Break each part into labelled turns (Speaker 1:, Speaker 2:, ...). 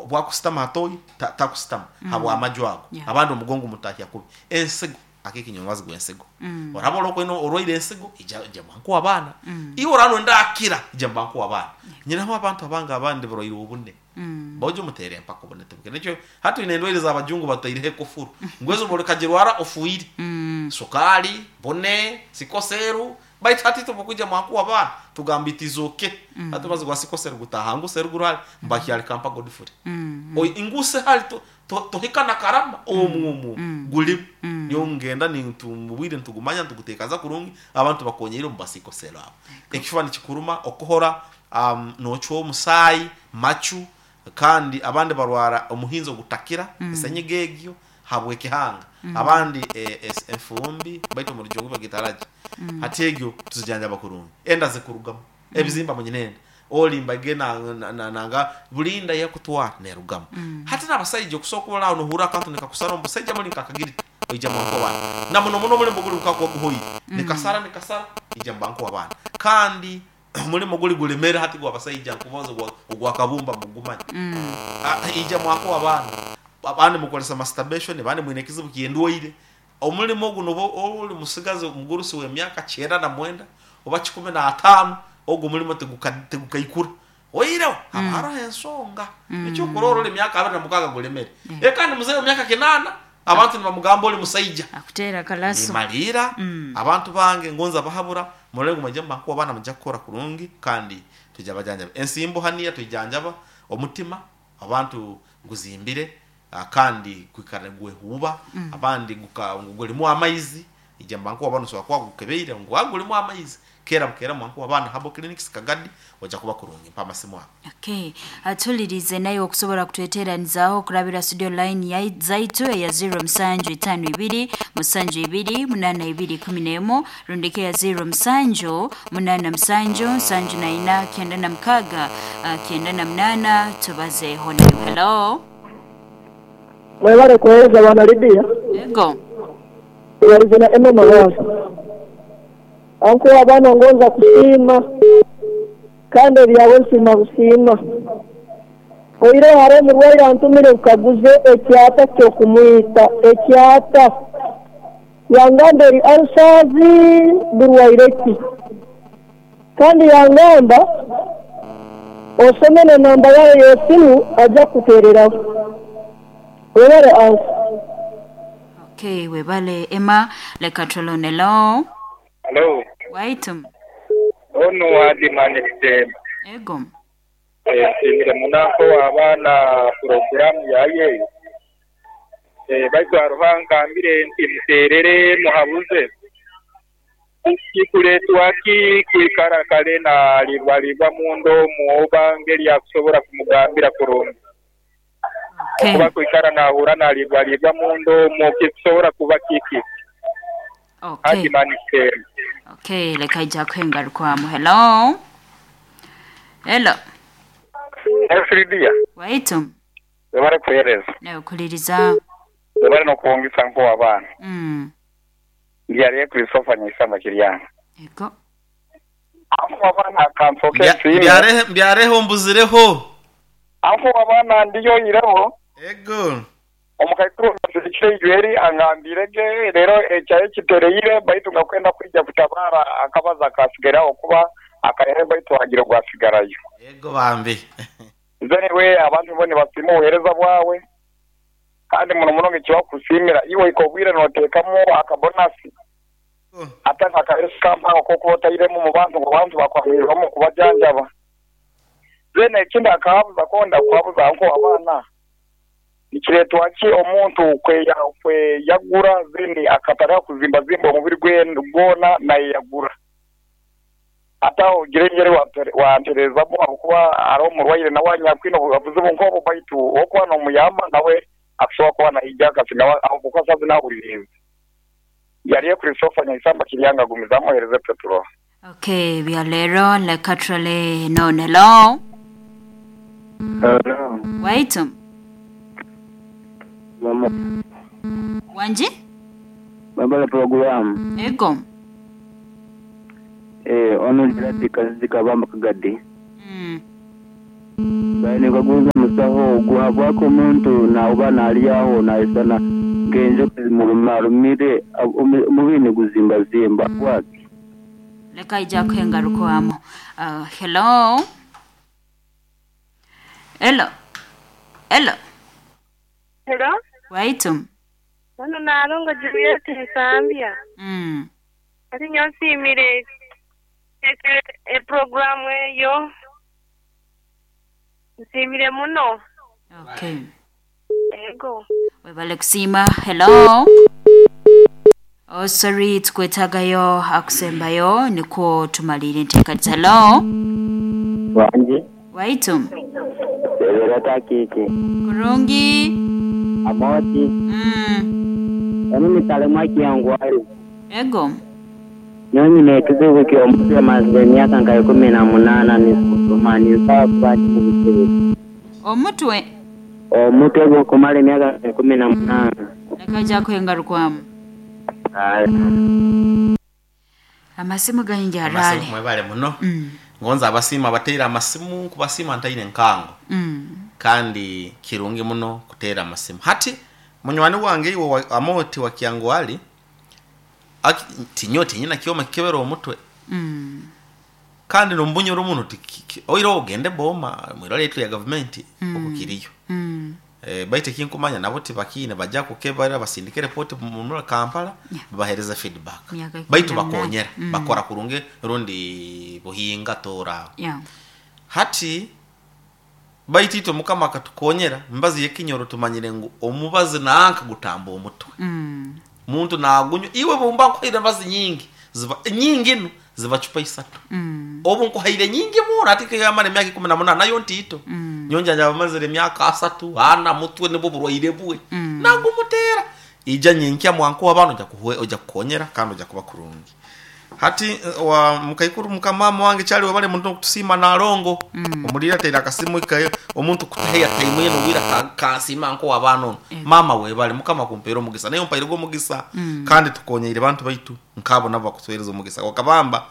Speaker 1: Bwakusitama hatoyi takusitama habwamaju ago. Abandi omugongo mutahya kubi ensigo akiki omubazi gw'ensigo. Oraba ori orwaire ensigo, ija mbankuwa abaana. Iwe oraba noyenda akira, ija mbankuwa abaana. Nyinaho abantu abange abandi barwaire obune. Bojo mutere empaka obune tibukira. Nikyo hati twine endwaire z'abajungu bataireho ekufuru ngu ezo obu ofiire. Sukaali, bune, sikoseeru, baitu hati itwe obu okwija mwankuwa abaana tugamba it is okay. Hati omubazi gwa sikoseeru gutaaha ngu seruguru hali mbakyali kampa Godfrey. Nguse hali tohika na Karama omu omu gulimu. Nyowe ngenda obwire nitugumanya nituguteekaza kurungi abantu bakonyeire omu basikoseero abo. Ekifuba nikikuruma, okuhora noocwa omusaayi, macu, kandi abandi barwara omuhinzi ogutakira, esenyiga egyo habw'ekihanga. Abandi enfumbi baitu omu Rujungu bagita allergy. Hati egyo tuzijanjaba kurungi. Enda zikurugamu, ebizimba munyina enda, oli mbage nanga buli nda eyakutwara neerugamu. Hati n'abasaija okusobola kuba ori aho nohurra akantu nikakusara omu busaija muli nk'akagirita, oija mwanku abaana. Na muno muno omulimo guli gukakuba guhoire, nikasara nikasara, ija mubanku abaana. Kandi omulimo guli gulemere hati gw'abasaija nkugonza ogwa kabumba mugumanya. Ija mwanku abaana. Abandi mukozesa masturbation, abandi mwine ekizibu ky'endwaire. Omulimo guno oba oli musigazi omugurusi w'emyaka 99 oba 15, ogu omulimo tigukaikura. Oihireho haba haroho ensonga. Ekyokurorra ori emyaka 26 gulemere. Kandi muzei w'emyaka 80 abantu nibamugamba oli musaija.
Speaker 2: Akuteera akalaso.
Speaker 1: Nimaliira abantu bange ngonza bahabura murole ngu mwaija mubankuwa abaana mujja kukora kurungi kandi twija bajanjaba. Ensimbo haniya twijanjaba, omutima abantu guzimbire kandi gwikara nigwehuuba, abandi ngu gulimu amaizi, ija mubankuwa abaana osobola kuba gukebeire ngu gulimu amaizi. Keera bukeera mwankuwa abaana Herbal Clinics Kagadi ojja kuba kurungi. Mpa amasimu ago.
Speaker 2: Okay. Atulirize naye okusobola kutweteranizaaho okurabira studio line zaitu eya 0752 72 82 11 rundika eya 07 87 74 96 98 tubazeeho nayo. Hello.
Speaker 3: Mwebale kuwereza bwana Lydia.
Speaker 2: Ego.
Speaker 3: Tubalize na Emma Mabaso. Anko abaana ngonza kusiima kandi ebyawe nsiima busiima. Oihireho hariho omurwaire antumire nkaguze ekyata ky'okumwita. Ekyata. Yangamba eri ulcers burwaire ki? Kandi yangamba osome n'enamba yawe y'esimu aja kukutereraho. Webale anko.
Speaker 2: Okay, webale Emma. Leka tulone. Hello.
Speaker 4: Halo.
Speaker 2: Waitu.
Speaker 4: Onu Adimani Kitemba.
Speaker 2: Ego.
Speaker 4: Nsiimire muno anko abaana puroguramu yaye eyo. Baitu haroho angambire nti muterere muhabuze. Kikuleetwa ki kwikara kale nalibwalibwa munda omwo oba ngeri yakusobola kumugambira kurungi. Okuba kwikara nahura nalibwalibwa munda omwo kikusobola kuba kiki? Adimani Kitemba.
Speaker 2: Okay, leka ija kwengarukwamu. Hello. Hello.
Speaker 4: Lydia.
Speaker 2: Waitu.
Speaker 4: Webale kuhereza.
Speaker 2: Nawe kuliriza.
Speaker 4: Webale nokwongisa nko abaana. Ndialiye Christopher Nyaisamba Kiryanga.
Speaker 2: Ego.
Speaker 4: Anko abaana akansoke nsiime.
Speaker 1: Mbyareho mbuzireho.
Speaker 4: Anko abaana ndiyo ireho.
Speaker 1: Ego.
Speaker 4: Omukaikuru nasirikire ijweri angambire ge rero ekyaye kitereire baitu nga kwenda kwija kutabara akabaza akasigaraho kuba akahere baitu hagira gwasigarayo.
Speaker 1: Ego bambi.
Speaker 4: Nze niwe abantu bo nibasiima obuheereza bwawe kandi muno muno ngekibakusiimira iwe ikobwire noteekamu akabonasi ate nkakaheresa kampango kokuba otairemu mu bantu ngu abantu bakwahirwamu kubajanjaba. Then ekindi akahabuza konda kuhabuza nko abaana nikireetwa ki omuntu kweyagura then akatandika kuzimbazimba omubiri gwe gwona nayeyagura. Ate aho ogire engeri wantereezamu ahabw'okuba hariho omurwaire nawe anyakwine obuzibu nk'obwo baitu okuba n'omuyamba nawe akusobola kuba naija akasinga ahabw'okuba saaha zinu ahuririize. Yariyo Christopher Nyaisamba Kiryanga agumizamu ohereze Petro.
Speaker 2: Okay, bya leero leka turole none. Hello.
Speaker 5: Hello.
Speaker 2: Waitu.
Speaker 5: Mama.
Speaker 2: Wangi?
Speaker 5: Babala program.
Speaker 2: Ego.
Speaker 5: Ono Gerard Kazizi Kabamba Kagadi. Baine musaho ogu habwaki omuntu nauba nalyaho naisana nk'enjoka zimurumarumire omubiri niguzimbazimba bwaki.
Speaker 2: Leka ija kuhengarukwamo. Hello. Hello. Hello.
Speaker 6: Hello.
Speaker 2: Waitu.
Speaker 6: Hano nalongo Juliet Nsambya. Ati nyosimire programu eyo. Nsimire muno.
Speaker 2: Okay.
Speaker 6: Ego.
Speaker 2: Webale kusima. Hello. Oh, sorry, tukwetagayo akusembayo niko tumalire enteekaniza. Hello.
Speaker 5: Wanje.
Speaker 2: Waitu.
Speaker 5: Sebera takiki.
Speaker 2: Kurungi.
Speaker 5: Amoti. Emi mitalema kiangwari.
Speaker 2: Ego.
Speaker 5: Nyonyi nekizibu ky'omutwe maze emyaka nka 18 nisoma nisaba kuba ndi mu buzibu.
Speaker 2: Omutwe.
Speaker 5: Omutwe gukumala emyaka 18.
Speaker 2: Leka ija kuhengarukwamu. Amasimu gayingi
Speaker 1: Amasimu
Speaker 2: arale.
Speaker 1: mwebale muno. Ngonza abasiima bateera amasimu kubasiima ntaine nkango. Kandi kirungi muno kuteera amasimu. Hati munywani wange iwe amoti wa Kyangwali tinyo tinyina kyoma kikebera omutwe. Kandi nombunyoro omuntu oira ogende boma mwirwaliro lya gavumenti okukiriyo. Baite kinkumanya nabo tibakine bajja kukebera basindike report mu Kampala. Babahereza feedback. Baitu bakonyera bakora kurunge rundi buhinga tora. Hati baitu itwe mukama akatukonyera mbazi yekinyoro tumanyire ngu omubazi nanka gutamba omutwe. Muntu nagunywa iwe bumba nkuhaire mbazi nyingi ziba nyingi no ziba chupa isatu. Obu nkuhaire nyingi muno ati kiyamara emyaka 18 nayo ntito. Nyonja njabamazire emyaka 3 ana mutwe nibwo burwaire bwe. Nagumutera ija nyinkya mwanku abantu nja kuhwe oja kukonyera kandi oja kuba kurungi. Hati wa mukaikuru mukamama wange chali wabale muntu kutusima na alongo. Omulira tera akasimu ikayo omuntu kutaheya time yeno wira kasima nko wabano. Mama webale mukama kumpera omugisa nayo mpaire go omugisa. Kandi tukonyeire bantu baitu nkabo nabo bakutwereza omugisa. Wakabamba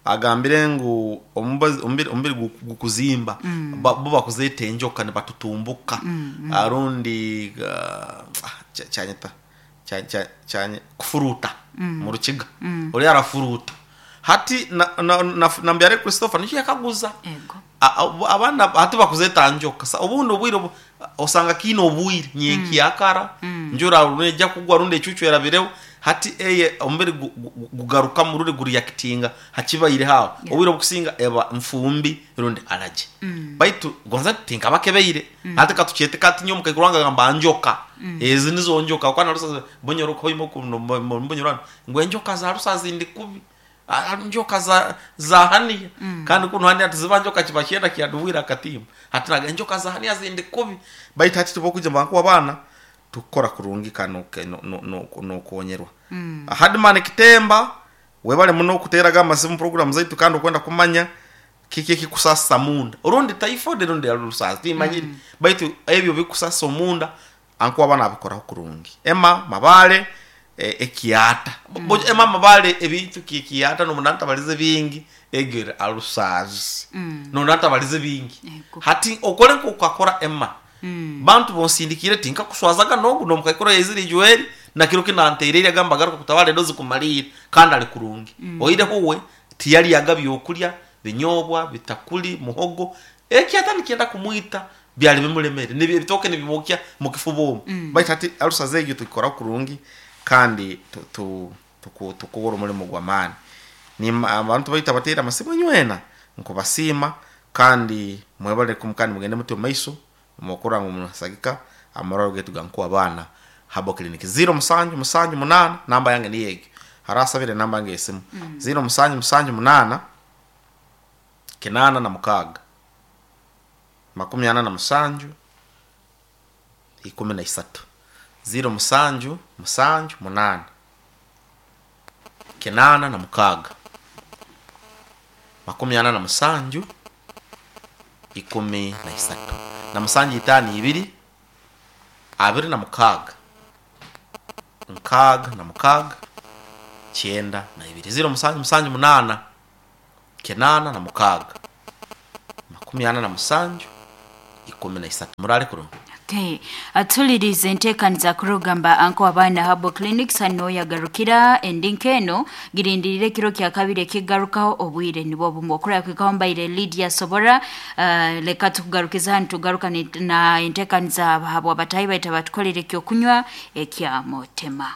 Speaker 1: agambire ngu omubiri gukuzimba bo bakuzeta enjoka ne batutumbuka. Arundi chanyeta chanye kufuruta mu rukiga. Ori arafuruta. Hati na mbyare Christopher niyo yakaguza. Abana hati bakuzeta njoka. Obundi obwire osanga kino obwire nyenki yakara njura runeja kugwa runde ecucu yarabireho. Hati eye omubiri gugaruka mu ruri guriyakitinga hakibayire hawo. Obwire obukusinga eba mfumbi rundi alaje. Baitu gonza tinka bakebeire. Hati katuchete kati nyomuka ikuranga gamba njoka. Ezi nizo njoka kwana rusa bonyoro koyimo mbonyorana ngwe njoka za rusa zindi kubi. Njoka za hania. Kandi kuno hania tiziba njoka kibakyenda kyaduwira akatimba. Hati naga njoka za hania zindi kubi. Baitu hati tubokuja bankuwa bana tukora kurungi kano no konyerwa. Hadman Kitemba webale muno kuteraga amasimu program zaitu kandi okwenda kumanya kiki kikusasa munda. Urundi typhoid rundi alusasa timanyiri. Baitu ebyo bikusasa munda ankuwa bana abikora kurungi. Emma Mabale ekiata. Emma Mabale ebintu kikiata no munanta balize bingi egere alusazi. No nanta balize bingi. Hati okole nkokakora Emma. Bantu bonsindikire tinka kuswazaga nogu no mukaikora yeziri Joel na kiro kinanterere agamba garuka kutawale dozi kumalira kandi ali kurungi. Oire huwe tiyali yagabye okulya binyobwa bitakuli muhogo ekiata nikienda kumwita byali bimulemere nibi bitoke nibimokya mukifubo. Baitu hati alusaze egyo tukora kurungi kandi tukubora umurimo gwa mani. Ni abantu baita batera amasimu nywena nkubasima kandi mwebale kumkani mugende muti maiso mukora ngo munasagika amararo getu gankuwa bana habo clinic 0 7 7 8 namba yange ni yegi harasabire namba yange esimu 0 7 7 8 9 6 47 13 0 7 7 8 9 6 47 13 na musanju 5 2 26 6 6 92 0 7 7 8 9 6 47 13. Murale kurungi.
Speaker 2: Okay. Atulirize enteekaniza kurugamba anko abaana Herbal Clinics hano yagarukira endinka eno girindirire ekiro kya kabiri ekigarukaho obwire nibwo bumwe okura kwikaho mbaire Lydia Sobora. Leka tukugarukiza hano tugaruka na enteekaniza habwa batayi baita batukolere ekyokunywa ekya motema.